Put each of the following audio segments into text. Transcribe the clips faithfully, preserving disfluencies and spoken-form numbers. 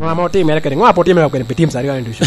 Ŋo ame otimere kede, ŋo ame otimere kede pi teams aryo ni ducu?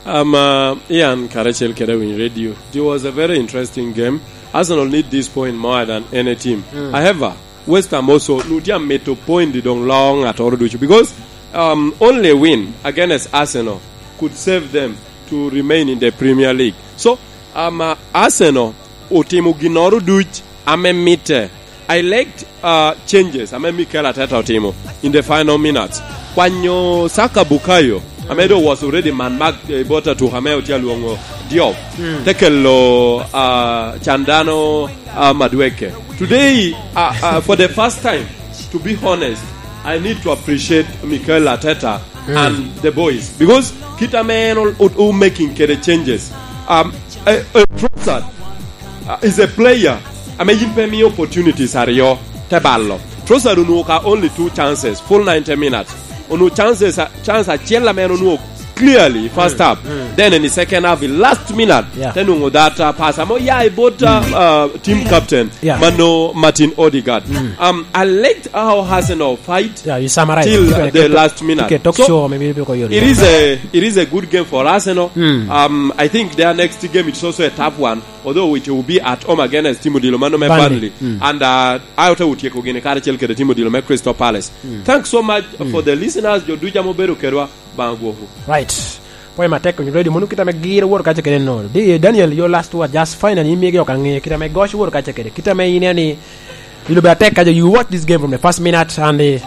Um, uh, Ian, karacel kede Winy Radio, it was a very interesting game. Arsenal need this point more than any team. Mm. However, West Ham also, nu tye amito point doŋ loo ŋattoro ducu, because, um, only a win against Arsenal could save them to remain in the Premier League. So, um, uh, Arsenal otimo ginnoro duc ame mitte. I liked, uh, changes ame Mikel Arteta otimo in the final minutes. Kwanyo Saka Bukayo, ame do was already man mark, eh, bot atuk ame otye alwoŋo Diop. Mm. Te kelo, uh, Candano, uh, Madueke. Today, uh, uh, for the first time, to be honest, I need to appreciate Mikel Arteta, mm, and the boys, because kit ame en o-, o-, o making kede changes. Um, a, a Trossard, uh, is a player ame yin pe miyo opportunities aryo te balo. Trossard onwoŋo ka only two chances, full ninety minutes. Onwoŋo chances, uh, chance acel ame en onwoŋo clearly first, mm, half. Mm. Then in the second half, the last minute, yeah, te nwoŋo that, uh, pass amo ya i bot, uh, mm, uh, team captain, yeah, mano Martin Odegaard. Mm. Um, I liked how Arsenal fight, yeah, you summarize, till, uh, the last minute. So, it is a, it is a good game for Arsenal. Mm. Um, I think their next game, it's also a tough one, although it will be at home against team odilo mano me Burnley. Burnley. Mm. And, uh, ayo te otyeko gini karacel kede team odilo me Crystal Palace. Mm. Thanks so much, mm, for the listeners, jo ducu ame obedo kedwa. Baŋ agwokwu. Right. Pwoyo matek, onyo ready, mono kit ame gir owor kaca kede no. Di, Daniel, your last word, just finally, imigi ok aŋe, kit ame goc owor kaca kede, kit ame ineno ni ilubo atek kaca, you watch this game from the first minute, and, eh,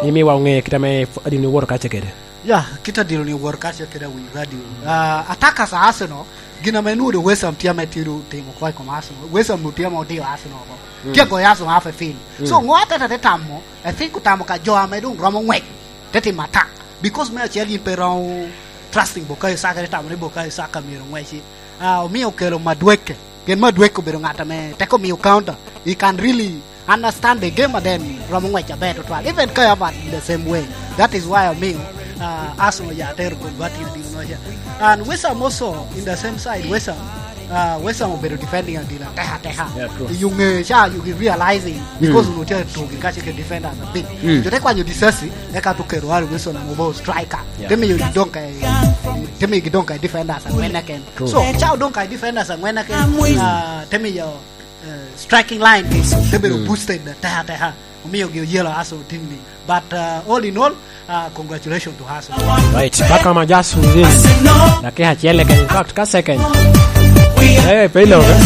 imiwa oŋe kit ame f-, adino owor kaca kede. Ya, kit adino ni owor kaca kede, Winy Radio. Ah, attackers a Arsenal, gin ame nwodo West Ham tye ame tye timo kwo i kom Arsenal. West Ham tye ame odiyo Arsenal oko. Mm. Tye agoyo Arsenal half a field. So, mm, ŋo Arteta te tamo? I think otamo ka jo ame doŋ romo ŋwec te timo attack. Because me acel yin pe romo trusting Bukayo Saka, te tamo ni Bukayo Saka myero ŋweci. Ah, omio okelo Madueke. Pien Madueke obedo ŋat ame teko miyo counter. He can really understand the game and then romo ŋwec aber tutwal. Even Kai Havertz in the same way. That is why omio, ah, Arsenal ya tero converting dino noca. And West Ham also in the same side, West Ham. Ah, West Ham obedo defending adila, teha, teha. Yeah, true. I yuŋe ca, you realizing, because, mm, onwoŋo tye tugi kace ke defenders a bit. Mm. Jo te kwanyo Disasi, eka to kero Harry Wilson amo bo striker. Yeah. Te miyo gidoŋ ka, te miyo gidoŋ ka defenders angwen eken. True. So, ca odoŋ ka defenders angwen eken, ah, te miyo, eh, striking line te bedo, mm, boosted teha, teha. Omio gi oyelo Arsenal team ni. But, uh, all in all, uh, congratulations to Arsenal. Right, paka ma just within dakika acel keken, in fact, ka second. Eh, pe ilo, eh?